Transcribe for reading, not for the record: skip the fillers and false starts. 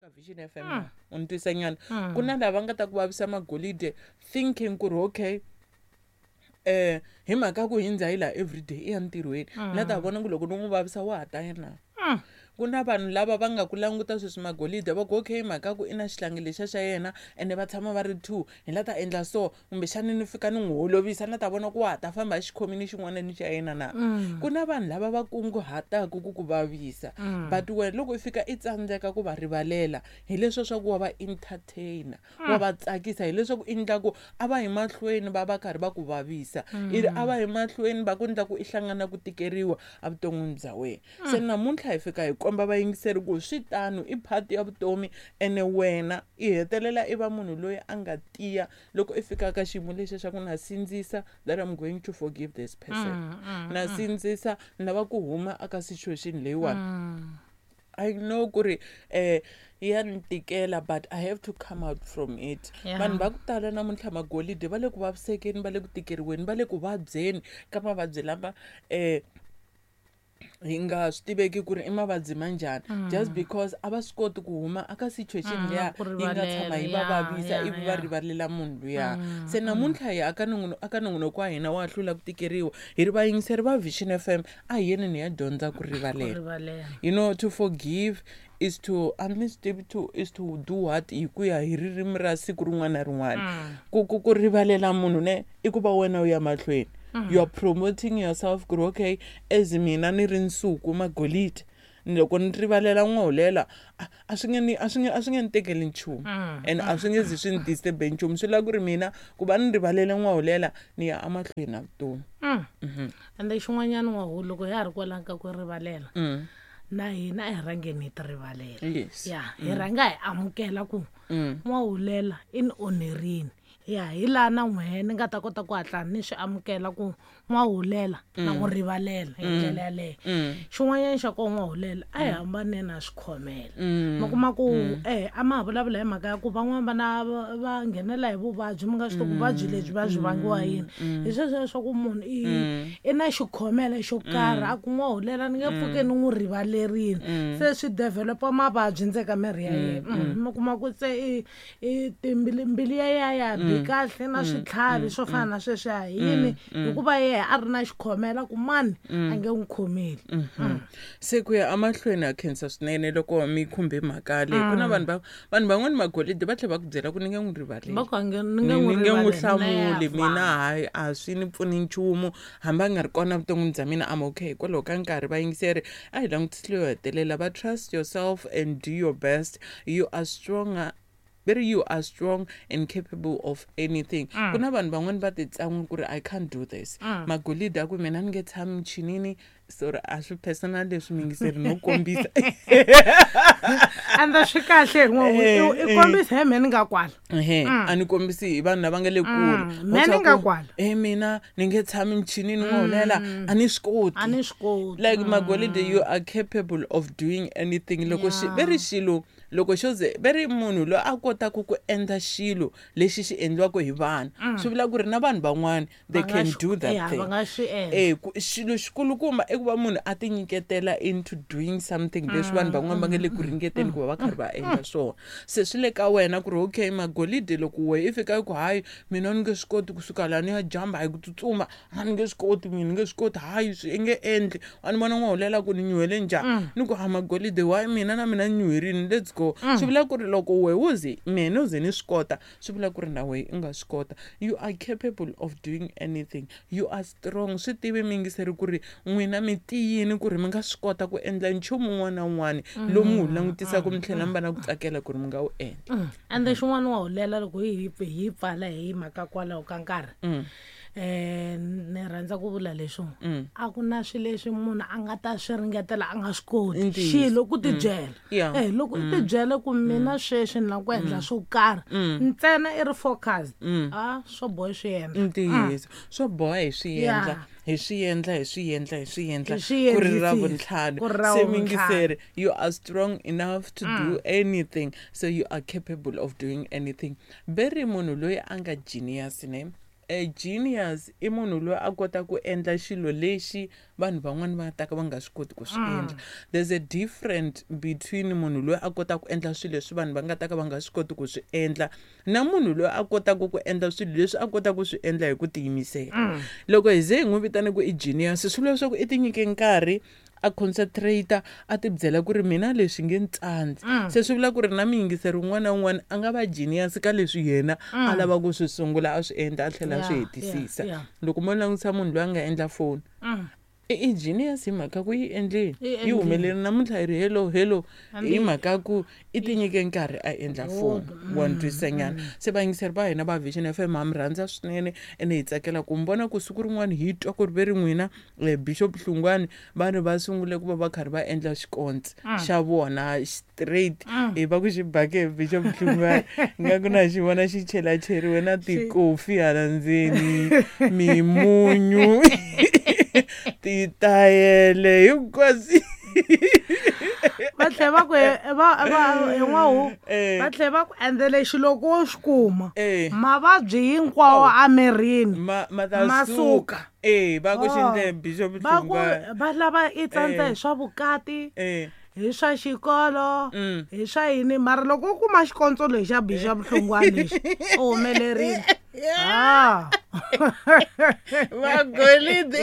Ka Vision FM na u ni twisa nyana ku na lava nga ta ku vavisa magolide thinking ku ri okay hi mhaka ku hindza hi laha everyday i ya ntirhweni na ta vona ku loko ni n'wi vavisa wa ha ta ya na. Ku na vanhu lava va nga ku languta sweswi magolide va ku okay mhaka ku i na xihlangi lexiya xa yena ene va tshama va ri two hi la ta endla so kumbexani ni fika ni n'wi holovisa na ta vona ku wa ha ta famba hi xikhomini xin'wana ni xa yena na. Ku na vanhu lava va kunguhataka ku ku vavisa but wena loko i fika i tsandzeka ku va rivalela hileswiya swa ku wa va entertain wa va tsakisa hileswaku i endla ku a va yi mahlweni va va karhi va ku vavisa i ri a va yi mahlweni va ku endla ku i hlangana ku tikeriwa evuton'wini bya wena. Se namuntlha hi fika hi komba vayingiseri ku swi tano i part ya vutomi ene wena i hetelela i va munhu loyi a nga tiya loko i fika ka xiyimo lexiya xa ku na sindzisa that I'm going to forgive this person na sindzisa ni lava ku huma aka situation leyiwani. I know ku ri ya ni tikela but I have to come out from it. Vanhu va ku tala namuntlha magolide va le ku vavisekeni va le ku tikeriweni va le ku vabyeni ka mavabyi lama hi nga swi tiveki ku ri i mavabyi ma njhani just because a va swi koti ku huma aka situation liya yi nga tshama yi va vavisa ivi va rivalela munhu luya. Se namuntlha hi aka aka nongonoko wa hina wa hlula ku tikeriwa hi ri vayingiseri va Vision FM a hi yeni ni ya dyondza ku rivalela. You know to forgive is to a ni swi tivi to is to do what hi ku ya hi ririmi ra siku rin'wana na rin'wana. Ku ku ku rivalela munhu ne i ku va wena u ya mahlweni. You are promoting yourself ku ri okay as mina ni ri nsuku magolide loko ni rivalela n'wahulela a swi nge ni a swi nge a swi nge ni tekeli nchumu and a swi nge zi swi ni disturb-e nchumu swi lava ku ri mina ku va ni rivalele n'wahulela ni ya emahlweni na vutomi. Ende xin'wanyana n'wahu loko ya ha ri kwalano ka ku rivalela na hina a hi rhangeni hi ti rivalela. Ya hi rhanga hi amukela ku n'wahulela i ni onherini. Ya hi laha na n'wehe ni nga ta kota ku hatla ni swi amukela ku n'wahulela na n'wi rivalela hi ndlela yaleyo. Xin'wanyana xa koho n'wahulela a hi hambane na swikhomela. Mi kuma ku a ma ha vulavula hi mhaka ya ku van'wani vana va nghenela hi vuvabyi mi nga swi tivi ku vuvabyi lebyi va byi vangiwa yini. Hi sweswiya swa ku munhu i na xikhomela xo karhi a ku n'wahulela ni nge pfuki ni n'wi rivalerini. Se swi develop-a mavabyi ndzeni ka miri ya yena. Mi kuma ku se i i timbili mbilu ya ya ya bi kahle na switlhavi swo fana na sweswiya hi yini hikuva yehe a ri na xikhomela ku mani a nge n'wi khomeli. Se ku ya emahlweni ha khensa swinene loko mi khumbe mhaka leyi ku na vanhu va vanhu van'wani magolide va tlhela va ku byela ku ni nge n'wi rivaleli va ku ni nge ni nge n'wi hlamuli mina hayi a swi ni pfuni nchumu hambi a nga ri kona vuton'wini bya mina I'm okay hikwalaho ka nkarhi vayingiseri a hi langutisi leyo hetelela va trust yourself and do your best you are stronger very you are strong and capable of anything. Ku na vanhu van'wani va ti tsan'wa ku ri I can't do this. Magolide a ku mina ni nge tshami michinini sorry a swi personal leswi mingiseri no kombisa. Ende swi kahle i kombisa hi mehe ni nga kwala. Ehe a ni kombisi hi vanhu lava nga le kule. Mehe ni nga kwala. Mina ni nge tshami michinini n'wahulela a ni swi koti. A ni swi koti. Like magolide you are capable of doing anything loko xi ve ri xilo loko xo ze ve ri munhu loyi a kotaka ku endla xilo lexi xi endliwaka hi vanhu swi vula ku ri na vanhu van'wani they can do that thing. Ku xilo xikulukumba i ku va munhu a ti nyiketela into doing something leswi vanhu van'wani va nga le ku ringeteni ku va va karhi va endla swona. Se swi le ka wena ku ri okay magolide loko wehe i fika i ku hayi mina ni nge swi koti kusuka laha ni ya jamba hi ku tsutsuma a ni nge swi koti mina ni nge swi koti hayi swi i nge endli a ni vona n'wahulela ku ni nyuhele njhani ni ku ha magolide why mina na mina ni nyuherini let's go. Swi vula ku ri loko wehe wo ze mina no ze ni swi kota swi vula ku ri na wehe i nga swi kota. You are capable of doing anything you are strong swi tivi miyingiseri ku ri n'wina mi tiyini ku ri mi nga swi kota ku endla nchumu wun'wana na wun'wana lowu mi wu langutisaka mi tlhela mi va na ku tsakela ku ri mi nga wu endla. Ende xin'wana wa hulela loko hi hi pfala hi mhaka kwalaho ka nkarhi ni rhandza ku vula leswo a ku na swilo leswi munhu a nga ta swi ringetela a nga swi koti xilo ku tibyela loko i tibyele ku mina sweswi ni lava ku endla swo karhi ntsena i ri focus a swo boha swi endla. Ntiyiso swo boha hi swi endla hi swi endla hi swi endla hi swi endla ku ri ra vuntlhanu se mingiseri you are strong enough to do anything so you are capable of doing anything. Ve ri munhu loyi a nga genius ne Genius i munhu loyi a kota ku endla xilo lexi vanhu van'wani va ta ka va nga swi koti ku swi endla. There's a different between munhu loyi a kotaka ku endla swilo leswi vanhu va nga ta ka va nga swi koti ku swi endla na munhu loyi a kotaka ku endla swilo leswi a kotaka ku swi endla hi ku tiyimisela. Loko hi ze hi n'wi vitane ku i genius, swi vula leswaku i ti nyike nkarhi, a concentrate, a ti byela ku ri mina leswi nge ni tsandzi. Se swi vula ku ri na muyingiseri wun'wana na wun'wana a nga va genius ka leswi yena a lava ku swi sungula, a swi endla, a tlhela a swi hetisisa. Loko mo langutisa munhu loyi a nga endla foni, i genius hi mhaka ku yi endleni, yi humelerile namuntlha yi ri hello hello, hi mhaka ku i ti nyike nkarhi a endla foni. Wa ni twisisa nyana? Se vayingiseri va hina va Vision FM, ha mi rhandza swinene, ene hi tsakela ku mi vona ku siku rin'wana hi twa ku ri ve ri n'wina, Bishop Hlungwani, vanhu va sungule ku va va karhi va endla xikontsi xa vona straight. Hi va ku xi bake hi Bishop Hlungwani, nga ku na xi vona xi chelacheriwe na tikofi hala ndzeni, mimunyu, titayele hinkwaswo. Va tlhela va ku va hin'wahu, va tlhela va ku endlele xilo loko wo xi kuma, mavabyi hinkwawo emirini ma ta ma suka. Va ku xi ndle Bishop Va ku Hlungwani. Va lava i tsandza hi swa vukati, hi swa xikolo, hi swa yini, mara loko u kuma xikontso lexi xa Bishop Hlungwani lexi, u humelerile ha. Magolidi.